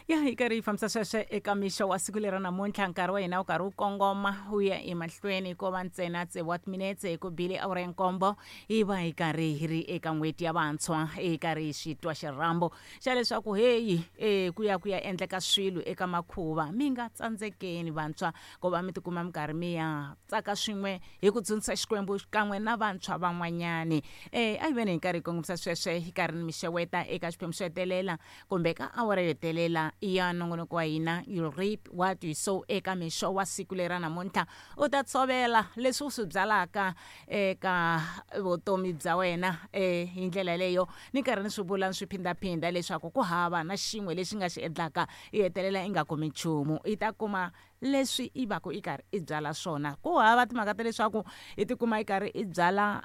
Ya hi karhi hi fambisa sweswo eka mixo wa siku lera namuntlha. Nkarhi wa hina wu karhi wu kongoma wu ya emahlweni, ko va ntsena tsevu wa timinetse hi ku bile awara ya nkombo. Hi va hi karhi hi ri eka n'hweti ya vantshwa, hi karhi hi xi twa xirhambo xa leswaku heyi e ku ya endleka swilo eka makhuva. Mi nga tsandzekeni vantshwa ku va mi tikuma mi karhi mi ya tsaka swin'we hi ku dzunisa Xikwembu xikan'we na vantshwa van'wanyani. A hi veni hi karhi hi kongomisa sweswe, hi karhi ni mi xeweta eka xiphemu xo hetelela kumbe ka awara yo hetelela ya nongonoko wa hina "You Reap What You Sow". Eka mixo wa siku lera namuntlha, u ta tshovela leswi u swi byalaka eka vutomi bya wena. Hi ndlela leyo ni karhi ni swi vula ni swi phindaphinda leswaku ku hava na xin'we lexi nga xi endlaka i hetelela i nga kumi nchumu. I ta kuma leswi i va ku i karhi i byala swona. Ku hava timhaka ta leswaku i tikuma i karhi i byala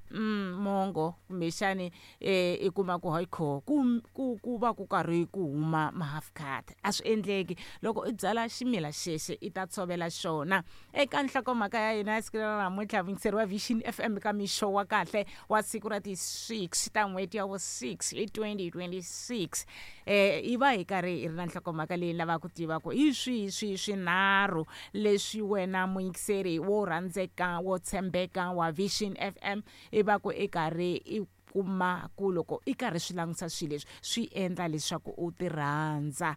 mongo kumbexani i kuma ku hayi kho ku va ku karhi ku huma ma-half cut, a swi endleki. Loko i byala ximila xexi, i ta tshovela xona. Eka nhlokomhaka ya hina ya siku ra namuntlha, vuyingiseri wa Vision FM, ka mixo wa kahle wa siku ra ti-6 ta n'hweti ya vu-6 hi 2026, hi va hi karhi hi ri na nhlokomhaka leyi lavaka ku tiva ku hi swihi swihi swinharhu leswi wena muyingiseri wo rhandzeka, wo tshembeka wa Vision FM, i va ku i karhi i kuma ku loko i karhi swi langutisa swilo leswi swi endla leswaku u ti rhandza.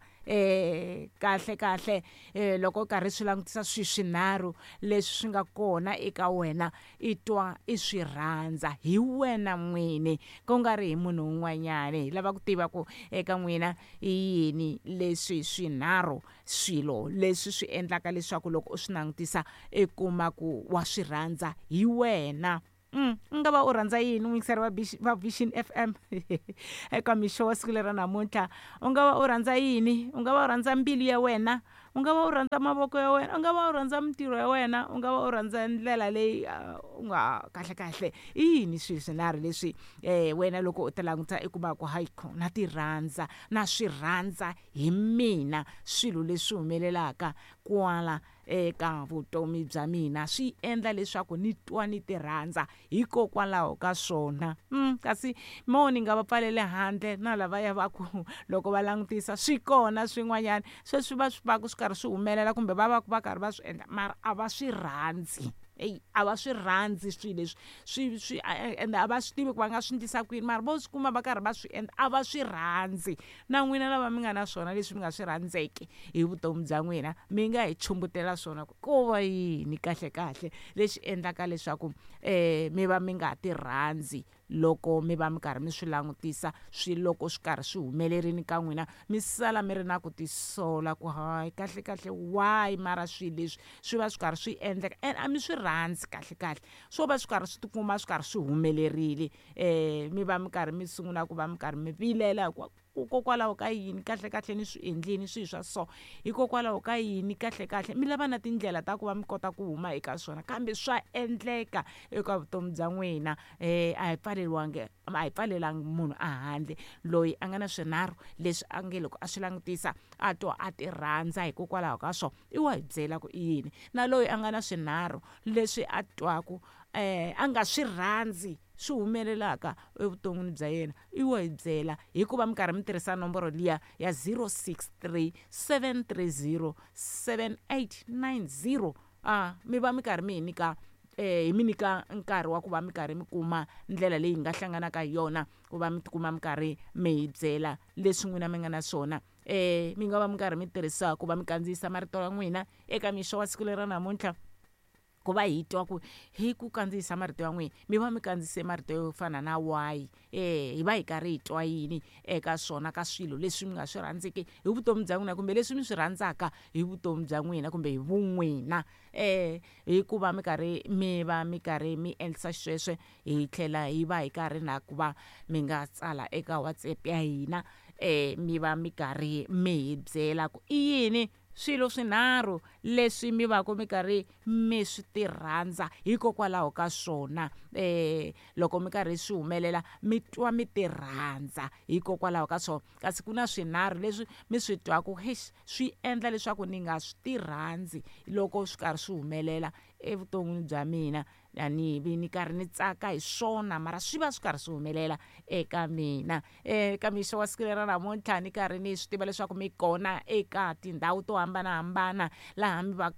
Kahle kahle, loko u karhi swi langutisa swilo swinharhu leswi swi nga kona eka wena, i twa i swi rhandza hi wena n'wini, ku nga ri hi munhu un'wanyani, hi lava ku tiva ku eka n'wina i yini leswi swinharhu swilo leswi swi endlaka leswaku loko u swi langutisa i kuma ku wa swi rhandza hi wena. U nga va u rhandza yini, muyingiseri wa Vision FM, eka mixo wa siku lera namuntlha? U nga va u rhandza yini? U nga va u rhandza mbilu ya wena, u nga va u rhandza mavoko ya wena, u nga va u rhandza mintirho ya wena, u nga va u rhandza ndlela leyi u nga kahle kahle i yini swilo swinharhu leswi wena loko u ti langutisa i kuma ku hayi kho na ti rhandza, na swi rhandza hi mina swilo leswi humelelaka kwala eka vutomi bya mina, swi endla leswaku ni twa ni ti rhandza hikokwalaho ka swona? Kasi mo ni nga va pfaleli handle na lavaya va ku loko va langutisa swi kona swin'wanyana sweswi va swi va ku swi karhi swi humelela kumbe va va va karhi va swi endla, mara a va swi rhandzi. Eyi, a va swi rhandzi swilo leswi swi ende a va swi tivi ku va nga swi endlisa ku yini, mara vo swi kuma va karhi va swi endla, a va swi rhandzi. Na n'wina lava mi nga na swona leswi mi nga swi rhandzeki hi vutomi bya n'wina, mi nga hi chumbutela swona ku ko va yini kahle kahle lexi endlaka leswaku mi va mi nga ti rhandzi loko mi va mi karhi mi swi langutisa swi loko swi karhi swi humelerini ka n'wina, mi sala mi ri na ku tisola ku hayi, kahle kahle why mara swilo leswi swi va swi karhi swi endleka and a mi swi rhandzi? Kahle kahle swo va swi karhi swi tikuma swi karhi swi humelerile, mi va mi karhi mi sungula ku va mi karhi mi vilela hikuva hikokwalaho ka yini kahle kahle ni swi endlini swilo swa so, hikokwalaho ka yini kahle kahle mi lava na tindlela ta ku va mi kota ku huma eka swona, kambe swa endleka eka vutomi bya n'wina. A hi pfaleriwangi, a hi pfalelangi munhu a handle. Loyi a nga na swinharhu leswi a nge loko a swi langutisa a twa a ti rhandza hikokwalaho ka swona, i wa hi byela ku i yini, na loyi a nga na swinharhu leswi a twaku a nga swi rhandzi swi humelelaka evuton'wini bya yena, i wa hi byela hikuva mi karhi mi tirhisa nomboro liya ya 063 730 7890. A mi va mi karhi mi hi nyika hi mi nyika nkarhi wa ku va mi karhi mi kuma ndlela leyi hi nga hlanganaka hi yona ku va mi tikuma mi karhi mi hi byela leswi n'wina mi nga na swona. Mi nga va mi karhi mi tirhisa ku va mi kandziyisa marito ya n'wina eka mixo wa siku lera namuntlha, ku va hi twa ku hi ku kandziyisa marito ya n'wina mi va mi kandziyise marito yo fana na why, hi va hi karhi hi twa yini eka swona, ka swilo leswi mi nga swi rhandziki hi vutomi bya n'wina kumbe leswi mi swi rhandzaka hi vutomi bya n'wina kumbe hi vun'wina. Hikuva mi karhi mi va mi karhi mi endlisa xisweswe, hi tlhela hi va hi karhi na ku va mi nga tsala eka WhatsApp ya hina, mi va mi karhi mi hi byela ku i yini swilo swinharhu leswi mi va ku mi karhi mi swi ti rhandza hikokwalaho ka swona, loko mi karhi swi humelela mi twa mi ti rhandza hikokwalaho ka swona, kasi ku na swinharhu leswi mi swi twaku hex swi endla leswaku ni nga swi ti rhandzi loko swi karhi swi humelela. evuton'wini bya mina, a ni vi ni karhi ni tsaka hi swona, mara swi va swi karhi swi humelela eka mina. Eka mixo wa siku leri namuntlha ni karhi ni swi tiva leswaku mi kona eka tindhawu to hambanahambana laha mi va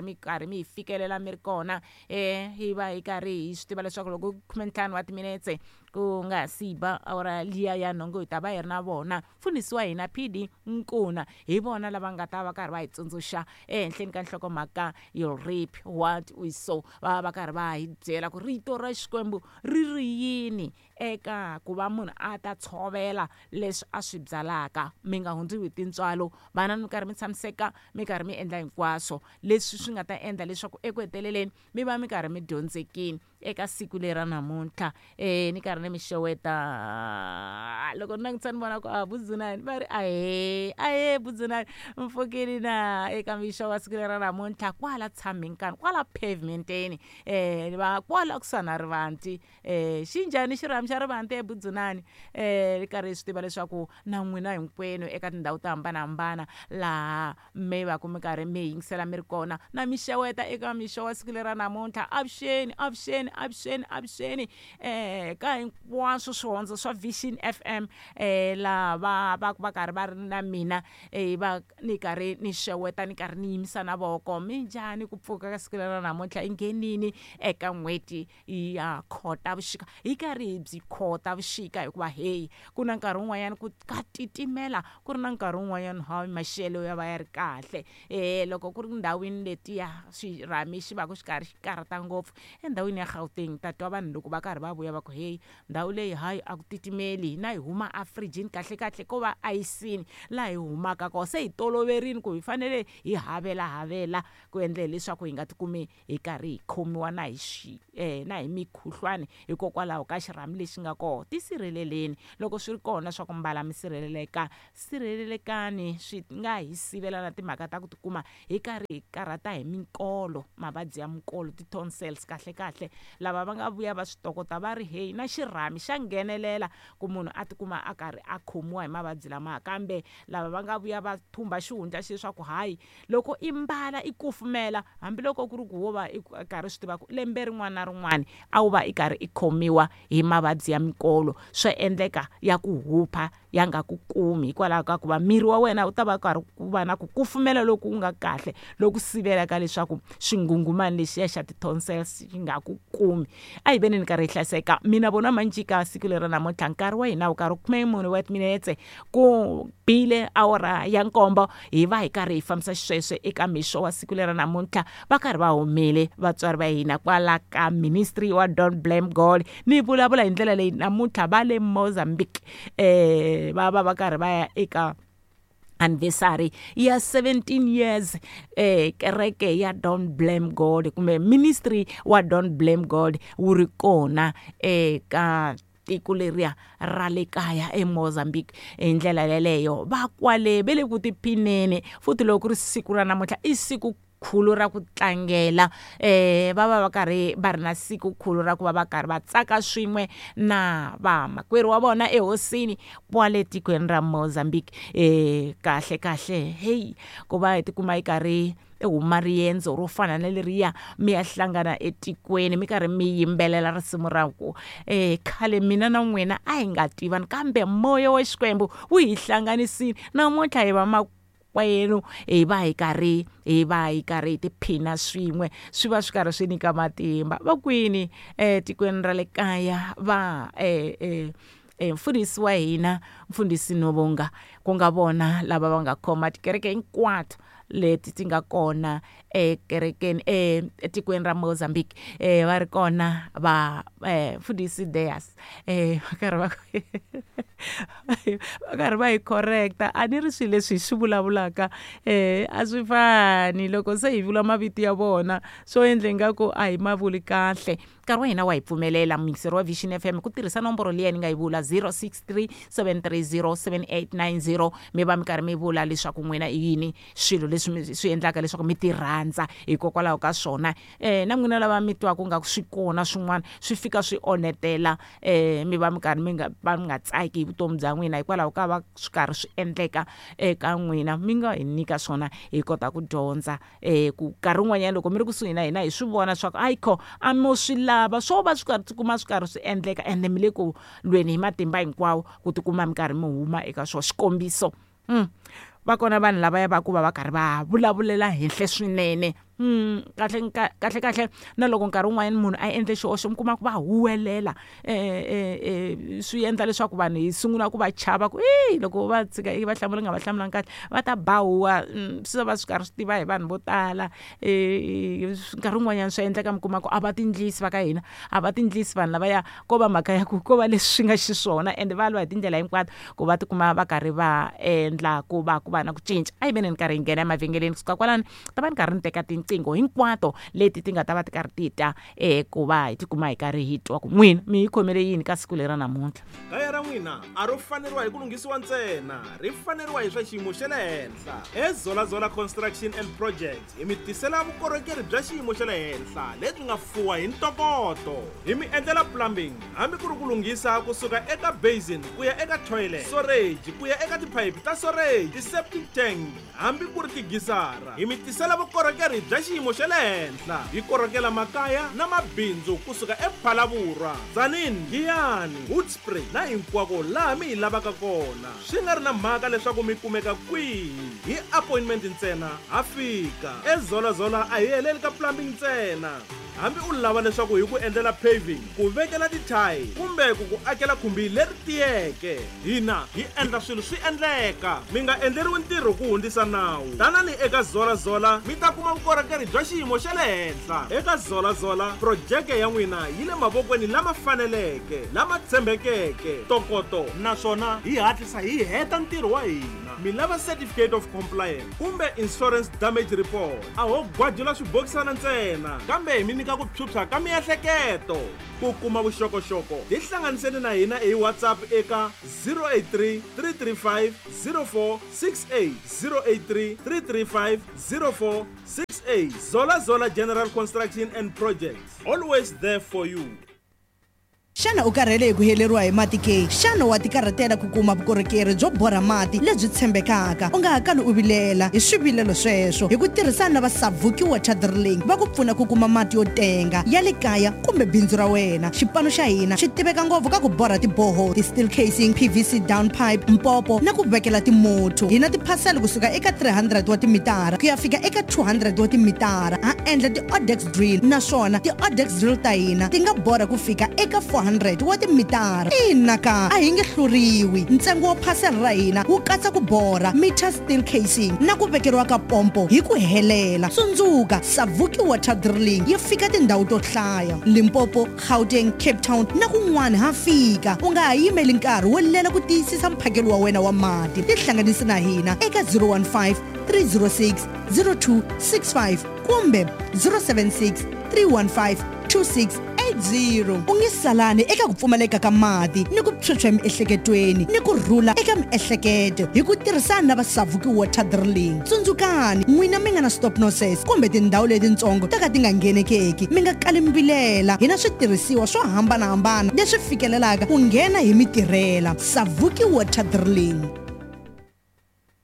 mi karhi mi hi fikelela mi ri kona. Hi va hi karhi hi swi tiva leswaku loko 15 wa timinetse ku nga si ba awara liya ya nhungu hi ta va hi ri na vona mfundhisi wa hina PD Nkuna, hi vona lava nga ta va karhi va hi tsundzuxa ehenhleni ka nhlokomhaka you reap what we sow. Va va karhi va hi byela ku rito ra Xikwembu ri ri yini eka ku va munhu a ta tshovela leswi a swi byalaka. Mi nga hundziwi hi tintswalo, vana mi karhi mi tshamiseka, mi karhi mi endla hinkwaswo leswi swi nga ta endla leswaku eku heteleleni mi va mi karhi mi dyondzekile eka siku leri ra namuntlha. Ni karhi ni mi xeweta loko ni langutisa ni vona ku a Budzunani va ri ahee ahee Budzunani mpfukini na eka mixo wa siku leri ra namuntlha kwala tshameni kwala pavementeni va kwala kusuhani na rivanti. Xi njhani xirhami xa rivanti eBudzunani? Ni karhi hi swi tiva leswaku na n'wina hinkwenu eka tindhawu to hambanahambana laha mi va ku mi karhi mi yingisela mi ri kona, na mi xeweta eka mixo wa siku leri ra namuntlha. Avuxeni avuxeni avuxeni avuxeni ka hinkwaswo swihondzo swa Vision FM laha va va va karhi va ri na mina, va ni karhi ni xeweta ni karhi ni yimisa na voko. Minjhani ku pfuka ka siku leri ra namuntlha? I nghenini eka n'hweti ya Khotavuxika, hi karhi hi byi Khotavuxika hikuva heyi ku na nkarhi wun'wanyana ku ka titimela, ku ri na nkarhi wun'wanyana hayi maxelo ya va ya ri kahle. Loko ku ri ndhawini letiya xirhami xi va ku xi karhi xi karhata ngopfu endhawini ya Gauteng, ta twa vanhu loko va karhi va vuya va ku heyi ndhawu leyi hayi a ku titimeli, hina hi huma a firijini kahle kahle ko va ayisini laha hi humaka kona, se hi toloverile ku hi fanele hi havelahavela ku endlela leswaku hi nga tikumi hi karhi hi khomiwa na hi na hi mikhuhlwani hikokwalaho ka xirhami lexi nga kona. Tisirheleleni loko swi ri kona swa ku mbala mi sirheleleka, sirhelelekani swi nga hi sivela na timhaka ta ku tikuma hi karhi hi karhata hi minkolo, mavabyi ya minkolo ti-tonsils kahle kahle. Lava va nga vuya va swi tokota va ri heyi na xirhami xa nghenelela ku munhu a tikuma a karhi a khomiwa hi mavabyi lamaya, kambe lava va nga vuya va thumba xihundla xeswaku hayi loko i mbala i kufumela, hambiloko ku ri ku wo va i karhi swi tiva ku lembe rin'wana na rin'wana a wu va i karhi i khomiwa hi mavabyi ya minkolo, swa endleka ya ku hupha ya nga ku kumi hikwalaho ka ku va miri wa wena wu ta va karhi ku va na ku kufumela loku nga kahle loku sivelaka leswaku xinghunghumani lexiya xa ti-tonsils xi nga ku kumi. A hi veni ni karhi hi hlayiseka mina vona Manjika siku leri namuntlha nkarhi wa hina wu karhi 14 wa timinetse ku bile awara ya nkombo, hi va hi karhi hi fambisa xisweswe eka mixo wa siku leri namuntlha. Va karhi va humile vatswari va hina kwala ka ministry wa Don't Blame God, ni vulavula hi ndlela leyi namuntlha va le Mozambique va va va karhi va ya eka anniversary ya 17 years kereke ya Don't Blame God kumbe ministry wa Don't Blame God wu ri kona eka tiko leriya ra le kaya eMozambique. Hi ndlela yeleyo va kwale ve le ku tiphineni, futhi loko ku ri siku ra namuntlha i siku khulu ra ku tlangela, va va va karhi va ri na siku khulu ra ku va va karhi va tsaka swin'we na vamakwerhu wa vona ehosini kwale tikweni ra Mozambique. Kahle kahle heyi ku va hi tikuma hi karhi huma riendzo ro fana na leriya mi ya hlangana etikweni mi karhi mi yimbelela risimu ra ku khale mina na n'wina a hi nga tivani, kambe moya wa Xikwembu wu hi hlanganisile, namuntlha hi va makwenu, hi va hi karhi hi tiphina swin'we, swi va swi karhi swi nyika matimba. Va kwini etikweni ra le kaya va mfundhisi wa hina mfundhisi Novonga, ku nga vona lava va nga khoma tikereke hinkwato leti ti nga kona ekerekeni etikweni ra Mozambique, va ri kona va mfundhisi Deas, va karhi va va karhi va hi correcta. A ni ri swilo leswi hi swi vulavulaka a swi fani loko se hi vula mavito ya vona, swo endla ingaku a hi ma vuli kahle. Nkarhi wa hina wa hi pfumelela muyingiseri wa Vision FM ku tirhisa nomboro liya ni nga yi vula 063 730 7890, mi va mi karhi mi vula leswaku n'wina i yini swilo leswi Leswi swi endlaka leswaku mi ti rhandza hikokwalaho ka swona. Na n'wina lava mi twaku nga ku swi kona swin'wana swi fika swi onhetela, mi va mi karhi mi nga va mi nga tsaki hi vutomi bya n'wina hikwalaho ka va swi karhi swi endleka eka n'wina, mi nga hi nyika swona hi kota ku dyondza. Ku nkarhi wun'wanyana loko mi ri kusuhi na hina hi swi vona swa ku ayikho a mo swi lava, swo va swi karhi tikuma swi karhi swi endleka ende mi le ku lweni hi matimba hinkwawo ku tikuma mi karhi mi huma eka swona. Xikombiso, va kona vanhu lavaya va ku va va karhi va vulavulela henhla swinene. Kahle kahle kahle na loko nkarhi wun'wanyana munhu a endle xihoxo mi kuma ku va huwelela, swi endla leswaku vanhu hi sungula ku va chava ku i loko va tshika i va hlamula nga va hlamulanga kahle va ta ba huwa. Swi va swi karhi swi tiva hi vanhu vo tala. Nkarhi wun'wanyana swa endleka mi kuma ku a va tindlisi va ka hina, a va tindlisi vanhu lavaya, ko va mhaka ya ku ko va leswi swi nga xiswona ende va lwa hi tindlela hinkwato ku va tikuma va karhi va endla ku va ku va na ku cinca. A hi veni ni karhi hi nghena emavhengeleni, kusuka kwalano ta va ni karhi ni teka tinqingho hinkwato leti ti nga ta va ti karhi ti ta, ku va hi tikuma hi karhi hi twa ku n'wina mi hi khomele yini ka siku leri ra namuntlha. Kaya ra n'wina a ro faneriwa hi ku lunghisiwa ntsena, ri faneriwa hi swa xiyimo xa le henhla. EZolazola Construction and Projects hi mi tisela vukorhokeri bya xiyimo xa le henhla lebyi nga fuwa hi ntokoto. Hi mi endlela plumbing hambi ku ri ku lunghisa kusuka eka basin ku ya eka toilet, storage ku ya eka tiphayiphi ta storage, ti-septic tank hambi ku ri tigisara. Hi mi tisela vukorhokeri bya xiyimo xa le henhla. Hi korhokela makaya na mabindzu kusuka ePhalaborwa, Tzaneen, Giyani, Hoedspruit na hinkwako laha mi hi lavaka kona. Swi nga ri na mhaka leswaku mi kumeka kwihi, hi appointment ntsena ha fika. EZolazola a hi heleli ka plumbing ntsena. Hambi u lava leswaku hi ku endlela paving, ku vekela tithayi kumbe ku ku akela khumbi leri tiyeke, hina hi endla swilo swi endleka. Mi nga endleriwi ntirho ku hundzisa nawu. Tanani eka Zolazola mi ta kuma vukorhokeri bya xiyimo xa le henhla. Eka Zolazola, projeke ya n'wina yi le mavokweni lama faneleke, lama tshembekeke, ntokoto naswona hi hatlisa hi heta ntirho wa hina. Mi lava certificate of compliance kumbe insurance damage report, a ho gwajula swibokisana ntsena, kambe hi mi nyika ku phyuphya ka miehleketo. Ku kuma vuxokoxoko, tihlanganiseni na hina hi WhatsApp eka 083 335 0468, 083 335 0468. Zola Zola General Construction and Projects, always there for you. Xana u karhele hi ku heleriwa hi mati ke? Xana wa tikarhatela ku kuma vukorhokeri byo borha mati lebyi tshembekaka? U nga ha kali u vilela hi swivilelo sweswo. Hi ku tirhisana na va Savuki Water Drilling, va ku pfuna ku kuma mati yo tenga ya le kaya kumbe bindzu ra wena. Xipano xa hina xi tiveka ngopfu ka ku borha tiboho, ti-steel casing, PVC down pipe, mpopo na ku vekela timotho. Hi na tiphasela kusuka eka 300 wa timitara ku ya fika eka 200 wa timitara. Ha endla ti-odex drill, naswona ti-odex drill ta hina ti nga borha ku fika eka 400 wa timitara. Ina ka, a hi nge hluriwi. Ntsengo wa phasela ra hina wu katsa ku borha, meter steel casing na ku vekeriwa ka pompo hi ku helela. Tsundzuka, Savuki Water Drilling yi fika tindhawu to hlaya, Limpopo, Gauteng, Cape Town na kun'wana ha fika. U nga ha yimeli nkarhi wo lela ku tiyisisa mphakelo wa wena wa mati. Tihlanganisi na hina eka 015 306 0265 kumbe 076 315 2680. U nge salani eka ku pfumaleka ka mati ni ku phyuphya emiehleketweni ni ku rhula eka miehleketo hi ku tirhisana na va Savuki Water Drilling. Tsundzukani, n'wina mi nga na stop nonsense kumbe tindhawu letitsongo to ka ti nga nghenekeki, mi nga kali mi vilela. Hi na switirhisiwa swo hambanahambana leswi fikelelaka ku nghena hi mi tirhela. Savuki Water Drilling.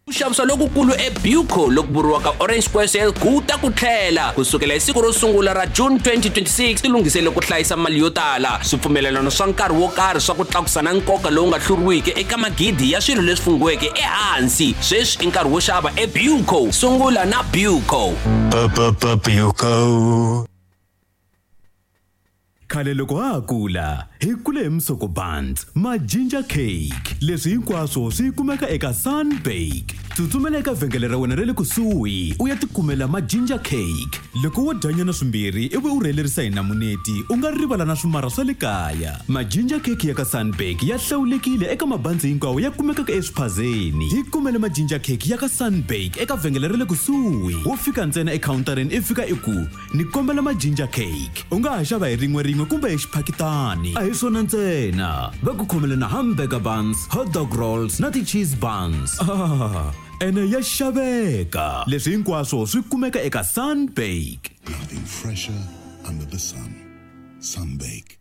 Ku xavisa lokukulu eBuco loku vuriwaka Orange Square Sale ku ta ku tlhela ku sukela hi siku ro sungula ra June 2026. Tilunghisele ku hlayisa mali yo tala, swipfumelelano swa nkarhi wo karhi swa ku tlakusa na nkoka lowu nga hluriwiki eka magidi ya swilo leswi funghiweke ehansi. Sweswi i nkarhi wo xava eBuco. Sungula na Buco. Buco. Khale loko ha ha kula, hi kule hi musoko buns, ma ginger cake. Leswi hinkwaswo swi kumeka eka Sunbake. Tsutsumela eka vhengele ra wena ra le kusuhi u ya tikumela ma ginger cake. Loko wo dyanyana swimbirhi ivi u rhelerisa hi namuneti, u nga rivala na swimara swa le kaya. Ma ginger cake ya ka Sunbake ya hlawulekile eka mabanzi hinkwawo ya kumekaka eswiphazeni. Hi kumele ma ginger cake ya ka Sunbake eka vhengele ra le kusuhi. Wo fika ntsena ekhawuntareni i fika i ku, Ni kombela ma ginger cake. U nga ha xava hi rin'we rin'we kumbe hi xiphakitani. A hi swona ntsena, va ku khomele na hamburger buns, hot dog rolls na ti-cheese buns. Ah, Ene ya xaveka. Leswi hinkwaswo swi kumeka eka Sunbake. Nothing fresher under the sun. Sunbake.